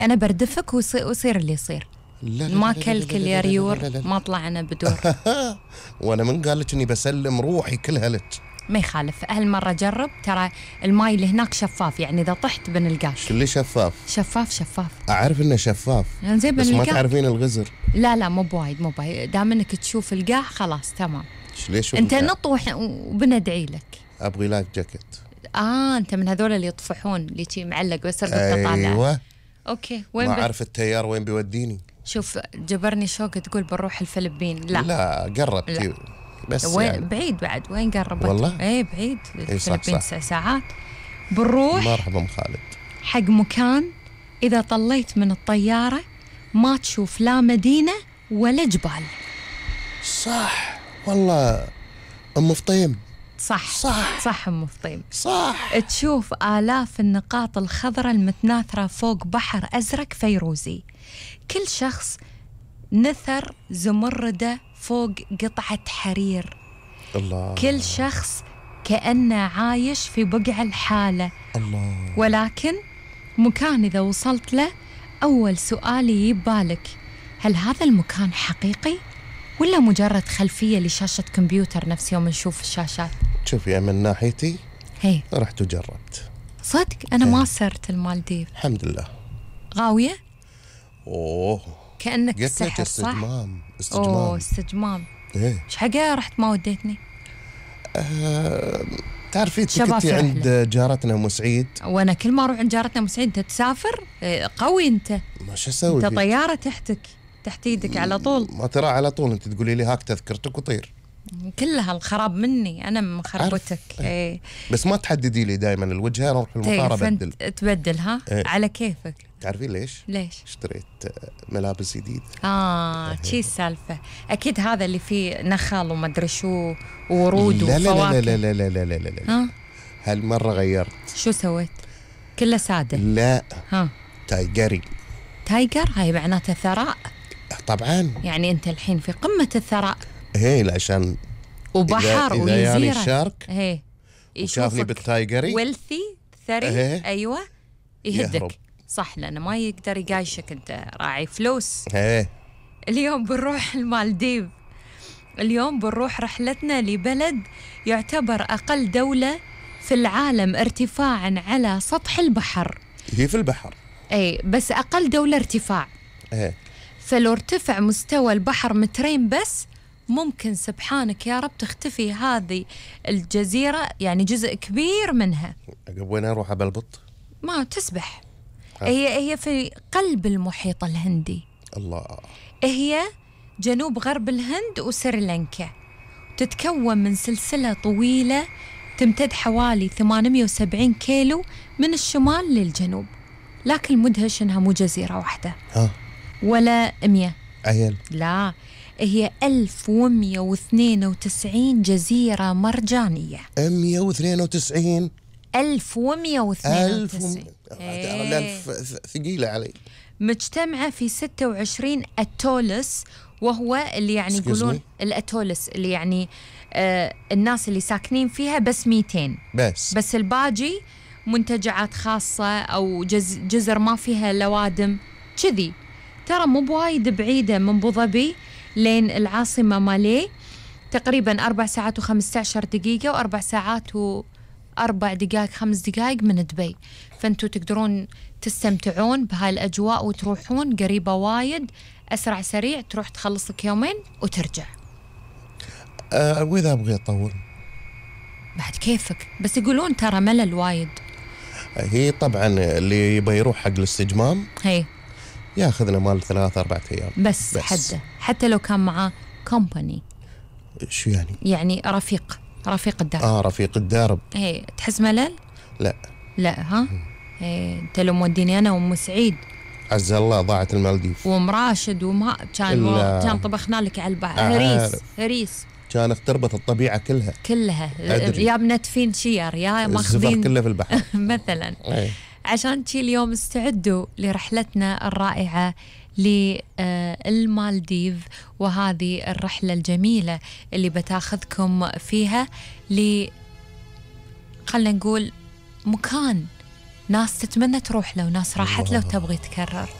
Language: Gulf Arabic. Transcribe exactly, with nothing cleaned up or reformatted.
أنا بردفك ويصير اللي يصير. لا لا ما لا لا كلكل لا لا يا لا لا ريور، لا لا لا. ما طلعنا بدور. وأنا من قال لك إني بسلم روحي كلها لك؟ ما يخالف، هالمرة جرب، ترى الماي اللي هناك شفاف، يعني إذا طحت بنلقاك. كله شفاف. شفاف شفاف. أعرف إنه شفاف يعني زي بس ما بنلقاك. تعرفين الغزر. لا لا مو بوايد، مو بوايد، دام إنك تشوف القاع خلاص تمام. ليش أنت نط وبندعي لك. أبغي لايف جاكيت. آه أنت من هذول اللي يطفحون اللي شي معلق بس أرد تطالع. أيوة. أوكي وين ما ب... أعرف التيار وين بيوديني. شوف جبرني شوق تقول بنروح الفلبين. لا لا قربتي بس وين يعني. بعيد بعد، وين قربت والله ايه بعيد. إيه الفلبين صح تسع ساعات. بنروح مرحبا ام خالد حق مكان إذا طليت من الطيارة ما تشوف لا مدينة ولا جبال. صح والله أم فطيم. صح صح صح أم فطيم صح. تشوف آلاف النقاط الخضراء المتناثرة فوق بحر أزرق فيروزي، كل شخص نثر زمردة فوق قطعة حرير. الله. كل شخص كأنه عايش في بقع الحالة. الله. ولكن مكان إذا وصلت له أول سؤال يجي بالك، هل هذا المكان حقيقي ولا مجرد خلفية لشاشة كمبيوتر نفس يوم نشوف الشاشات؟ شوفي من ناحيتي هي رحت وجربت صدق. أنا ما صرت المالديف. الحمد لله. غاوية؟ أوه كأنك قلت لك سحر. صح؟ استجمام استجمام. أوه استجمام. إيه إيش حقا رحت ما وديتني؟ أه... تعرفي شباب كنتي في عند جارتنا أم سعيد. وأنا كل ما أروح عند جارتنا أم سعيد. أنت تسافر إيه، قوي أنت. ما شو أسوي أنت فيك؟ طيارة تحتك تحت إيدك على طول. ما ترى على طول أنت تقولي لي هاك تذكرتك وطير. كلها الخراب مني أنا مخربتك. إيه. بس ما تحددي لي دائما الوجهة، أروح المطار أبدل. تبدل ها إيه. على كيفك. تعرفين ليش؟ ليش؟ اشتريت ملابس جديد. آه شي السالفة. أكيد هذا اللي فيه نخل وما أدري شو وورود لا وفواكه. لا لا لا لا لا لا لا لا. ها هالمرة غيرت. شو سويت؟ كله سادة. لا ها تايجري. تايجر هاي معناته ثراء. طبعا. يعني أنت الحين في قمة الثراء. هي عشان وبحر إذا, إذا يعني ويزيرة. الشارك هي وشافني بالتايجري ويلثي ثري. هي. أيوة يهدك. يهرب. صح لأنه ما يقدر يقايشك، أنت راعي فلوس. هي. اليوم بنروح المالديف. اليوم بنروح رحلتنا لبلد يعتبر أقل دولة في العالم ارتفاعا على سطح البحر. هي في البحر. أي بس أقل دولة ارتفاع. هي. فلو ارتفع مستوى البحر مترين بس ممكن سبحانك يا رب تختفي هذه الجزيرة، يعني جزء كبير منها. وين أروح أبلبط؟ ما تسبح. هي هي في قلب المحيط الهندي. الله. هي جنوب غرب الهند وسريلانكا. تتكون من سلسلة طويلة تمتد حوالي ثمانمئة وسبعين كيلو من الشمال للجنوب، لكن المدهش إنها مو جزيرة واحدة. ها ولا مية. عيل. لا هي ألف ومئة واثنين وتسعين جزيرة مرجانية. مئة واثنين وتسعين. ألف ومئة واثنين وتسعين. الألف ثقيلة علي. مجتمعة في ستة وعشرين أتولس، وهو اللي يعني يقولون الأتولس اللي يعني آه الناس اللي ساكنين فيها بس مئتين بس بس الباقي منتجعات خاصة أو جز جزر ما فيها لوادم كذي. ترى مو بوايد بعيدة من أبوظبي لين العاصمة مالي، تقريبا أربع ساعات وخمسة عشر دقيقة وأربع ساعات وأربع دقائق خمس دقائق من دبي. فأنتوا تقدرون تستمتعون بهاي الأجواء وتروحون قريبة وايد، أسرع سريع، تروح تخلص لك يومين وترجع. أه وإذا أبغي أطول بعد كيفك، بس يقولون ترى ملل وايد. هي طبعا اللي يبغى يروح حق الاستجمام هي ياخذنا مال ثلاثة أربعة أيام بس, بس حده، حتى لو كان معاه كومباني. شو يعني؟ يعني رفيق رفيق الدرب. آه رفيق الدرب. هي تحس ملل؟ لا لا ها. هي انت لو موديني انا وام سعيد عز الله ضاعت المالديف وام راشد وما كان و... كان طبخنا لك على البحر هريس هريس كانت تربط الطبيعة كلها كلها أدري. يا بنتفين شير يا ماخذين الزفر كله في البحر مثلا. عشان شي اليوم استعدوا لرحلتنا الرائعة للمالديف، وهذه الرحلة الجميلة اللي بتاخذكم فيها ل خلنا نقول مكان ناس تتمنى تروح له وناس راحت له وتبغي تكرر.